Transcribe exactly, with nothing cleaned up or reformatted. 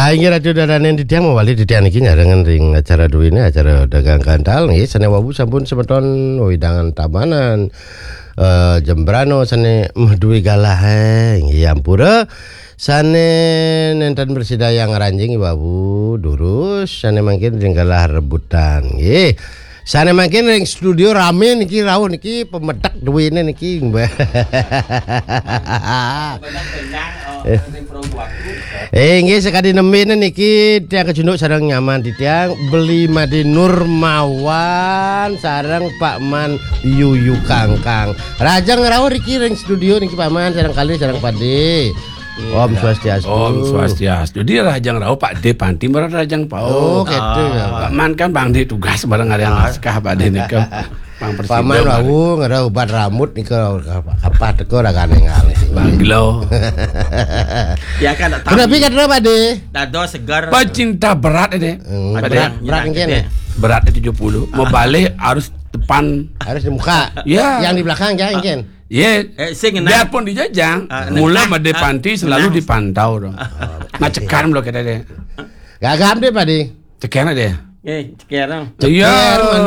Inggih Ratu Daranen titiang mawali titiang niki nyarengan ring acara duwene, acara dagang kantal nggih, sane wau sampun semeton wewidangan Tabanan, eh, Jembrana sane meh duwe galah, eh, nggih ampura. Sane nenten prasida ngranjing wau durus, sane mangkin ring galah rebutan nggih. Sane mangkin ring studio rame niki rauh niki pamedek duwene niki. Eh, inggih sakadi nembene niki tiang kacunduk sareng nyaman titiang Beli Made Nurmawan sareng Pak Man Yuyu Kangkang. Rahajeng rauh riki ring studio niki Pak Man sareng kalih sareng Pade. Om Swastiastu. Om Swastiastu. Dia rahajeng rauh Pak De Panti marang rahajeng pauh. Oh, gitu ya. Pak Man kan Bang De tugas bareng arean naskah Pak De nika. Pang Paman presiden, wau ngerah ubat rambut nika apa teko ragane ngalih. Bang Glo. Ya kan tak tahu. Kenapa kata Pak De? Dado segar. Pecinta berat ini. Hmm, Pak De. Berat, berat mungkin ya. Berat tujuh puluh. Mau balik harus depan. Harus di muka. Ya. Yang di belakang jangan mungkin. Ye, Eh, sing ngenah. Biarpun dijajang, Ah, mula ngenah. Made Ah, Panti selalu ngenah. Dipantau dong. Ngacekan lo kita deh. Gagam deh, Padi. Cekan deh. Eh, cekan dong. Iya. Cekan, malu.